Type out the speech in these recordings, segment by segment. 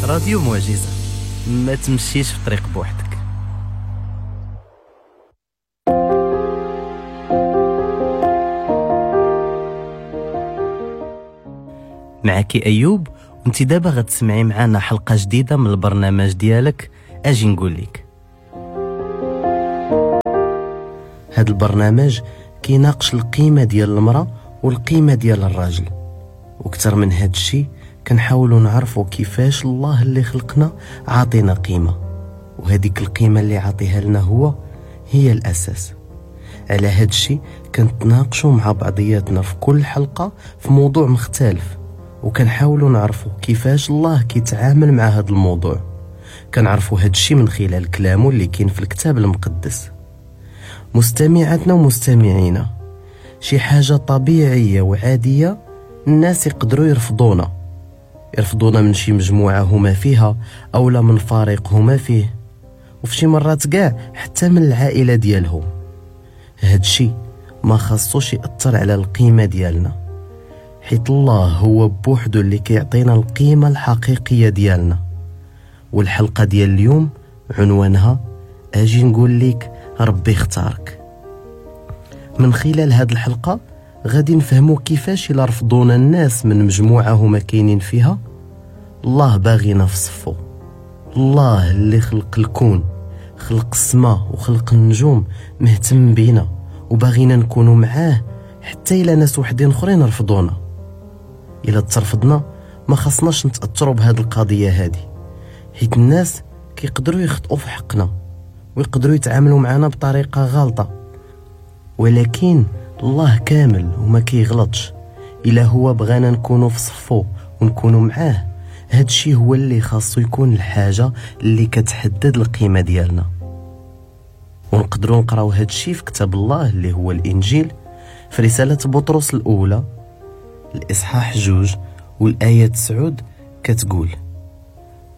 راديو معجزة، ما تمشيش في طريق بوحدك. معك أيوب، وانت دابا غتسمعي معنا حلقة جديدة من البرنامج ديالك أجي نقول لك. هذا البرنامج كيناقش القيمة ديال المرأة والقيمة ديال الراجل، وكتر من هاد الشي كنحاولوا نعرفوا كيفاش الله اللي خلقنا عاطينا قيمة، وهذيك القيمة اللي عاطيها لنا هو هي الأساس. على هاد الشي كنتناقشوا مع بعضياتنا في كل حلقة في موضوع مختلف، وكنحاولوا نعرفوا كيفاش الله كيتعامل مع هاد الموضوع. كنعرفوا هاد الشي من خلال كلامه اللي كاين في الكتاب المقدس. مستمعاتنا ومستمعينا، شي حاجة طبيعية وعادية الناس يقدروا يرفضونا من شي مجموعة هما فيها أو لا من فريق هما فيه، وفي شي مرات كاع حتى من العائلة ديالهم. هادشي ما خاصوش يأثر على القيمة ديالنا، حيت الله هو بوحدو اللي كيعطينا القيمة الحقيقية ديالنا. والحلقة ديال اليوم عنوانها أجي نقول لك ربي اختارك. من خلال هاد الحلقة غادي نفهمو كيفاش إلا رفضونا الناس من مجموعة هما كاينين فيها، الله باغينا في صفو. الله اللي خلق الكون، خلق السماء وخلق النجوم، مهتم بينا وباغينا نكونوا معاه حتى إلا ناس وحدين اخرين رفضونا. إلا ترفضنا ما خصناش نتأثروا بهاد القضية هادي، حيت الناس كيقدروا يخطئوا في حقنا ويقدروا يتعاملوا معنا بطريقة غلطة، ولكن الله كامل وما كيغلطش. إلا هو بغانا نكونوا في صفو ونكونوا معاه، هادشي هو اللي خاصو يكون الحاجة اللي كتحدد القيمة ديالنا. ونقدروا نقراو هادشي في كتاب الله اللي هو الإنجيل، في رسالة بطرس الأولى الإصحاح 2 والآية 9 كتقول: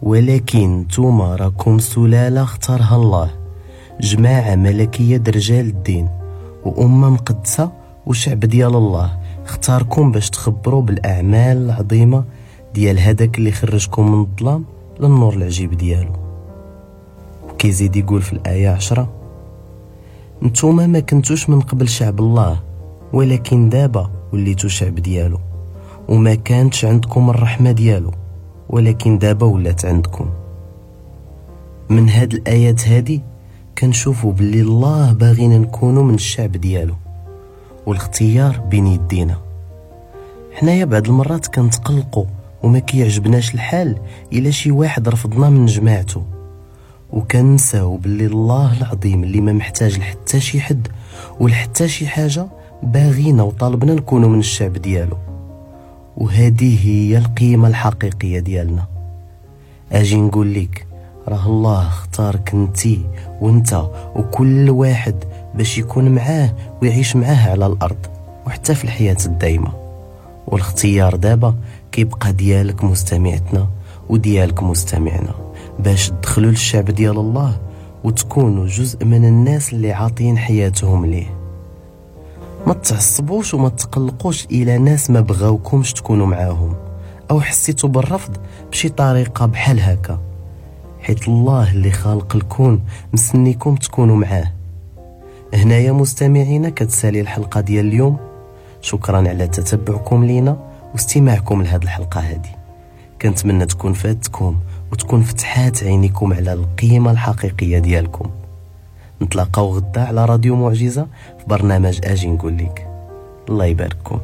ولكن نتوما راكم سلالة اختارها الله، جماعة ملكية رجال الدين وأمة مقدسة وشعب ديال الله، اختاركم باش تخبروا بالأعمال العظيمة ديال هذاك اللي خرجكم من الظلام للنور العجيب ديالو. وكيزيد يقول في الآية 10: نتوما ما كنتوش من قبل شعب الله، ولكن دابا وليتو شعب ديالو، وما كانتش عندكم الرحمة ديالو، ولكن دابا ولات عندكم. من هاد الآيات هادي كنشوفوا باللي الله باغينا نكونوا من الشعب ديالو، والاختيار بين يدينا. حنايا بعض المرات كنتقلقوا وما كيعجبناش الحال الا شي واحد رفضنا من جماعته، وكنساو باللي الله العظيم اللي ما محتاج لحتى شي حد ولحتى شي حاجه باغينا وطالبنا نكونوا من الشعب ديالو، وهذه هي القيمه الحقيقيه ديالنا. اجي نقول لك راه الله اختارك انتي وانت وكل واحد باش يكون معاه ويعيش معاه على الارض وحتى في الحياه الدايمه. والاختيار دابا كيبقى ديالك مستمعتنا وديالك مستمعنا، باش تدخلوا للشعب ديال الله وتكونوا جزء من الناس اللي عاطين حياتهم ليه. ما تعصبوش وما تقلقوش الى ناس ما بغاوكمش تكونوا معاهم او حسيتوا بالرفض بشي طريقه بحال هكا، حيت الله اللي خالق الكون مسنيكم تكونوا معاه. هنايا مستمعينا كتسالي الحلقه ديال اليوم. شكرا على تتبعكم لينا واستماعكم لهذه الحلقه هذه. كنتمنى تكون فاتكم وتكون فتحات عينيكم على القيمه الحقيقيه ديالكم. نتلاقاو غدا على راديو معجزه في برنامج اجي نقول لك. الله يبارككم.